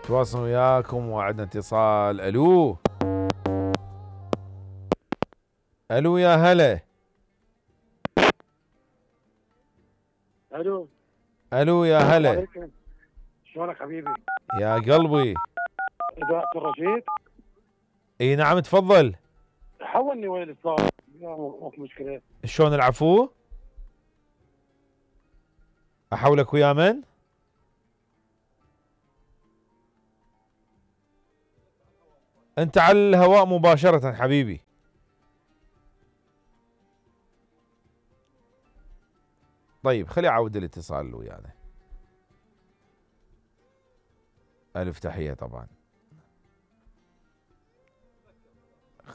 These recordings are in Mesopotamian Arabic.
تواصل وياكم وعندنا اتصال. الو الو يا هلا. الو الو يا هلا. شلونك حبيبي؟ يا قلبي. اذاعة الرشيد؟ اي نعم تفضل. حولني وين الاتصال؟ ماكو مشكلة. شلون العفو؟ احولك ويا من؟ انت على الهواء مباشرة حبيبي. طيب خلي اعود الاتصال ويانا. الف تحية طبعا.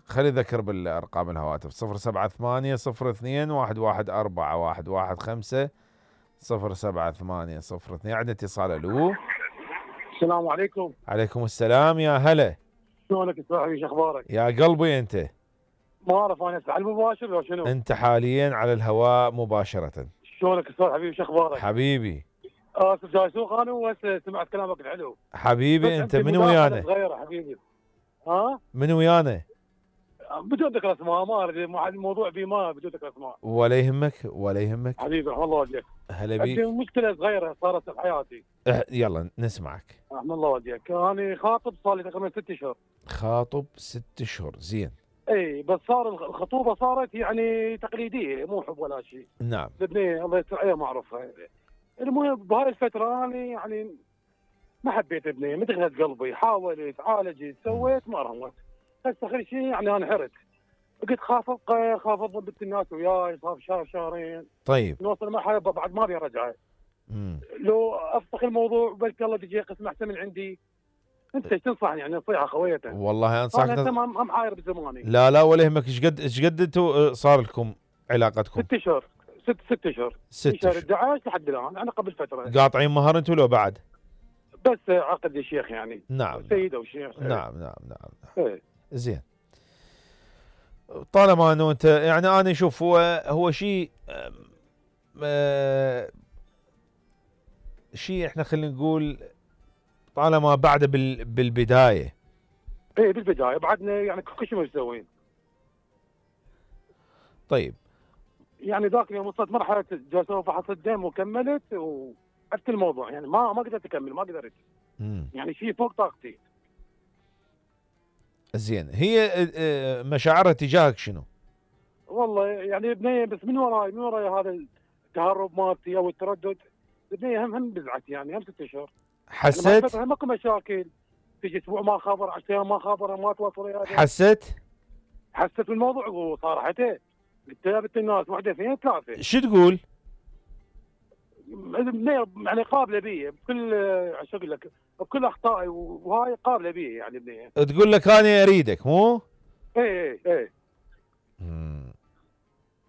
خلي ذكر بالارقام الهواتف 078 02 114 115 078 02. عندنا اتصال. الو السلام عليكم. عليكم السلام يا هلا. شلونك يا صاحبي؟ شو اخبارك؟ يا قلبي انت. ما اعرف انا على المباشر لو شنو؟ انت حاليا على الهواء مباشرة. شلونك يا صاحبي حبيبي؟ شو اخبارك؟ حبيبي. اسف جاي سوق انا وهسه سمعت كلامك الحلو. حبيبي انت من ويانا؟ صغيرة حبيبي. ها؟ من ويانا؟ بدون ذكر اسماء، ما اريد الموضوع ما بدون ذكر اسماء. ولا يهمك ولا يهمك حبيبي رحم الله وجهك. هلا بيك. عندي مشكلة صغيرة صارت بحياتي. يلا نسمعك. رحم الله وجهك. انا خاطب صار لي تقريبا 6 اشهر. خاطب 6 اشهر. زين. اي بس صار الخطوبه صارت يعني تقليديه، مو حب ولا شيء. نعم. البنيه الله يستر عليها معروفه. المهم بهاي الفتره انا يعني ما حبيت ابنيه، مدغت قلبي، حاولت عالجت سويت ما رمت. بس اخر شيء يعني انا حرت. قلت خاف ضبط الناس وياي، خاف شهر شهرين. طيب. نوصل مرحله بعد ما ابي ارجعه. لو افسخ الموضوع بلكي الله تجي قسم احسن من عندي. انت ايش تنصحني يعني نصيحه خويه؟ والله انصحك. انا هم حاير بزماني. لا ولا يهمك. ايش قد انتم صار لكم علاقتكم؟ 6 اشهر. 6 اشهر. 6 شهر اشهر 11 لحد الان، انا قبل فتره. قاطعين مهر انتم لو بعد؟ بس عقد الشيخ يعني. نعم. سيده وشيخ. نعم. ايه. زين. طالما انه انت يعني انا اشوف هو شيء شيء احنا خلينا نقول طالما بعد بالبدايه. ايه بالبدايه بعدنا يعني كل شيء مسوين. طيب. يعني ذاك اليوم وصلت مرحله جلسه فحص الدم وكملت وعرفت الموضوع يعني ما قدرت اكمل ما قدرت. يعني شيء فوق طاقتي. زين. هي مشاعرها تجاهك شنو؟ والله يعني بنيه بس من وراي هذا التهرب مالتي او التردد. بنيه هم بزعت يعني هم 6 اشهر. حسيت؟ يعني ماكو مشاكل. تجي اسبوع ما خبر، 10 ايام ما خبر، ما تواصل وياي. حسيت بالموضوع وصارحته. قلت لها بنت الناس واحده اثنين ثلاثه. شو تقول؟ يعني قابله بي بكل شو اقول لك بكل اخطائي وهاي قابله بي يعني بنيه. تقول لك انا اريدك مو؟ ايه.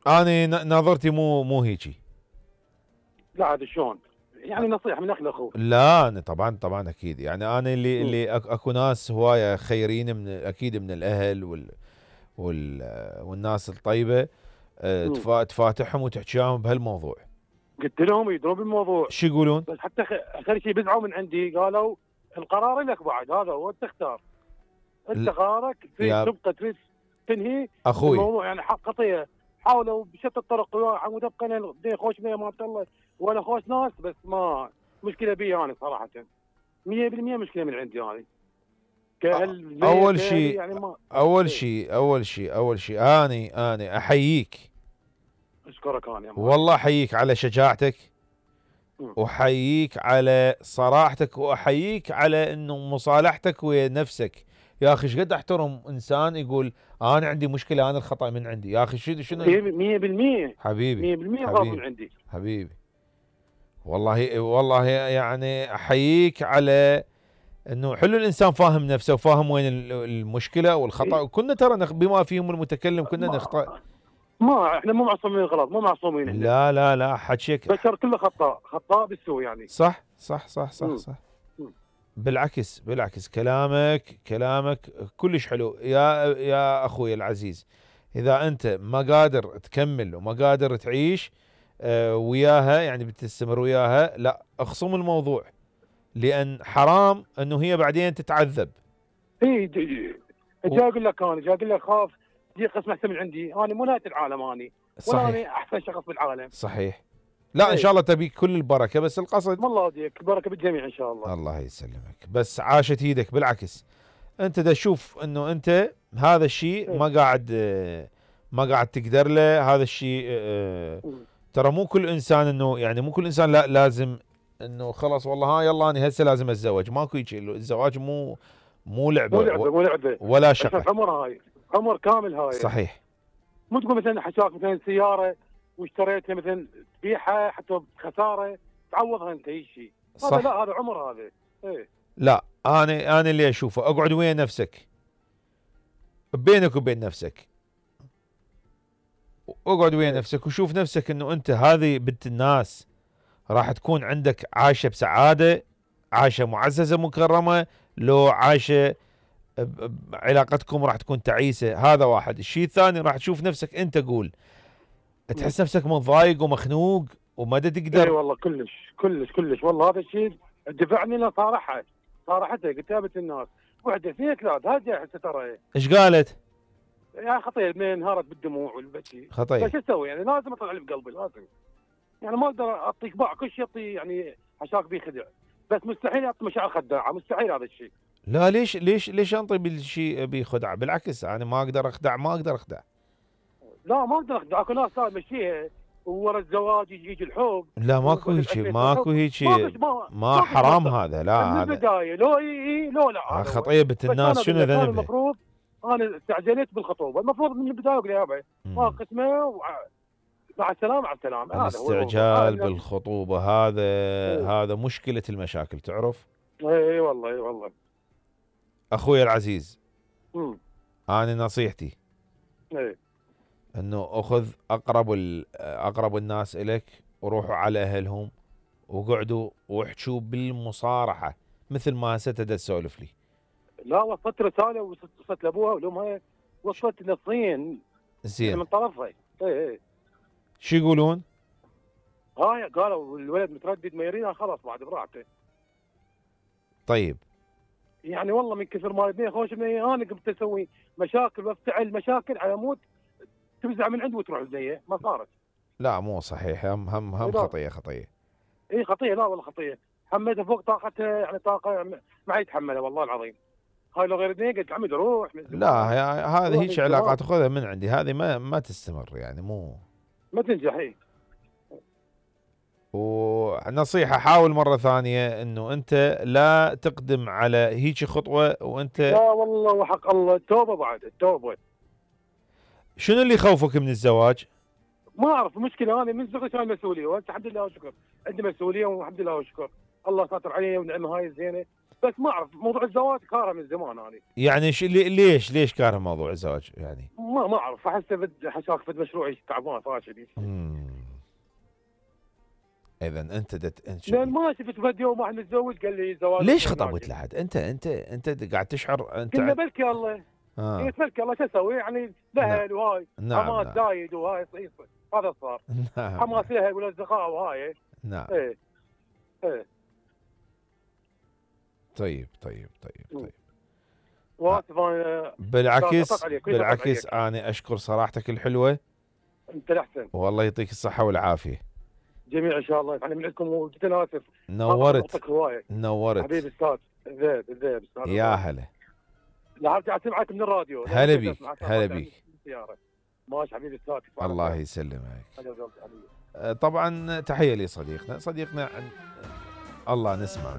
انا نظرتي مو هيجي. لا عاد شلون؟ يعني نصيحه من اخ لاخوه. لا أنا طبعا اكيد يعني انا اللي اكو ناس هوايه خيرين من اكيد من الاهل والناس الطيبه تفاتحهم وتحكيهم بهالموضوع. قلت لهم يدرون بالموضوع. شو يقولون؟ بس حتى اخر شيء بزعوا من عندي قالوا القرار لك بعد هذا هو تختار. انت قرارك تبقى تريد تنهي اخوي الموضوع يعني قضيه. حاولوا بشتى الطرق عمود ابقى خوش بيه ما الله ولا خوش ناس بس ما مشكله بي انا صراحه 100% مشكله من عندي انا. اول شيء انا احييك. اشكرك انا والله احييك على شجاعتك واحييك على صراحتك واحييك على انه مصالحتك ويا نفسك. يا اخي ايش قد احترم انسان يقول انا عندي مشكله انا الخطا من عندي. يا اخي شنو 100% حبيبي 100% غلط من عندي حبيبي. والله يعني احييك على انه حلو الانسان فاهم نفسه وفاهم وين المشكله والخطا. وكنا ترى بما فيهم المتكلم كنا نخطا. ما احنا مو معصومين الغلط مو معصومين احنا. لا حكيك بشر كله خطاء بالسوء يعني. صح. بالعكس كلامك كلش حلو يا اخوي العزيز. اذا انت ما قادر تكمل وما قادر تعيش وياها يعني بتستمر وياها لا اخصم الموضوع. لان حرام انه هي بعدين تتعذب. اي جاي اقول لك، انا جاي اقول لك خاف يجي قسم احسن من عندي، انا مو نهايه العالم اني، ولا صحيح انا احسن شخص بالعالم. صحيح. لا ان إيه. شاء الله تبيك كل البركه، بس القصد الله يهديك، البركه بالجميع ان شاء الله. الله يسلمك. بس عاشت ايدك، بالعكس انت دا تشوف انه انت هذا الشيء إيه. ما قاعد تقدر له. هذا الشيء ترى مو كل انسان انه يعني مو كل انسان لا لازم انه خلاص والله ها يلا انا هسه لازم اتزوج. ماكو هيك، الزواج مو لعبه مو لعبه ولا شقه. عمر هاي، عمر كامل هاي. صحيح. مو تقول مثلا حشاك مثلا سياره واشتريتها مثلا تبيعها حتى بخساره تعوضها انت اي شيء. هذا لا، هذا عمر هذا. ايه. لا انا اللي اشوفه اقعد ويا نفسك، بينك وبين نفسك، اقعد ويا نفسك وشوف نفسك انه انت هذه بنت الناس راح تكون عندك عايشه بسعاده، عايشه معززه مكرمه، لو عايشه علاقتكم راح تكون تعيسه. هذا واحد. الشيء الثاني راح تشوف نفسك انت، قول تحس نفسك متضايق ومخنوق وما تقدر. اي والله كلش والله هذا الشيء دفعني له صارحته قدام الناس. وحده اثنين ثلاث هذه هسه ترى. ايش قالت؟ يا خطيه اثنين انهارت بالدموع والبكي. خطيه. شو اسوي يعني؟ لازم اطلع اللي بقلبي، لازم. يعني ما اقدر اعطيك باع كل شيء، اعطي يعني حشاك بيه خدع، بس مستحيل اعطي مشاعر خداعه، مستحيل هذا الشيء. لا ليش انطي بالشيء بخدعه؟ بالعكس انا ما اقدر اخدع. لا ما اقدر اخدع. اكو ناس تمشيها وورا الزواج يجي الحب. لا ماكو هيك ما حرام هذا. لا من هذا البدايه لو اي لو لا خطيه بنت الناس. شنو ذنبها؟ المفروض انا استعجلت بالخطوبه، المفروض من البدايه اقول يابا ما قسمه مع السلامه مع السلامه. الاستعجال بالخطوبه هذا مشكله المشاكل، تعرف؟ اي والله اخوي العزيز. انا نصيحتي اي انه اخذ اقرب الناس اليك وروحوا على اهلهم وقعدوا واحكوا بالمصارحه مثل ما هسه تسولف لي. لا وصلت رساله وصلت لابوها ولامها، وصلت نصين زين من طرفها. اي شو يقولون؟ هاي قالوا الولد متردد ما يريدها، خلاص بعد براحته. طيب يعني والله من كثر ما البنيه خوش بنيه انا قمت اسوي مشاكل وافتعل مشاكل على مود تفزع من عند وتروح البنيه، ما صارت. لا مو صحيح. هم خطيه. اي خطيه. لا والله خطيه. حملتها فوق طاقتها، يعني طاقه ما يتحملها والله العظيم. هاي لو غير بنيه قلت عمي روح. لا هذه هيك علاقات تاخذها من عندي، هذه ما تستمر يعني ما تنجح. اي ونصيحة حاول مرة ثانية انه انت لا تقدم على هيك خطوة وانت. لا والله وحق الله التوبة بعد التوبة. شنو اللي يخوفك من الزواج؟ ما اعرف. المشكلة انا من صغري كان مسؤولية، وانت الحمد لله والشكر عندي مسؤولية والحمد لله والشكر، الله ساتر علي ونعمة هاي الزينة. بس ما اعرف موضوع الزواج كاره من زمان انا. يعني ليش كاره موضوع الزواج يعني؟ ما اعرف. احسه حشاك فد مشروعي تعبان فاشل. اذا انت لان ما شفت فد يوم واحد متزوج قال لي زواج. ليش خطبت لحد؟ انت قاعد تشعر انت قلنا بلكي الله. بلكي الله شو اسوي يعني؟ الاهل وهاي حماس زايد وهاي هذا صار. حماس الاهل والاصدقاء وهاي. نعم. ايه طيب واسف انا. بالعكس انا اشكر صراحتك الحلوه. انت الاحسن. والله يعطيك الصحه والعافيه. جميع ان شاء الله. انا من عندكم وجدا اسف. نورت حبيبي استاذ ذيب يا هلا. لا ارجع اسمعك من الراديو. هلا بيك. ماشي حبيبي استاذ. الله يسلمك. طبعا تحيه لصديقنا الله نسمع.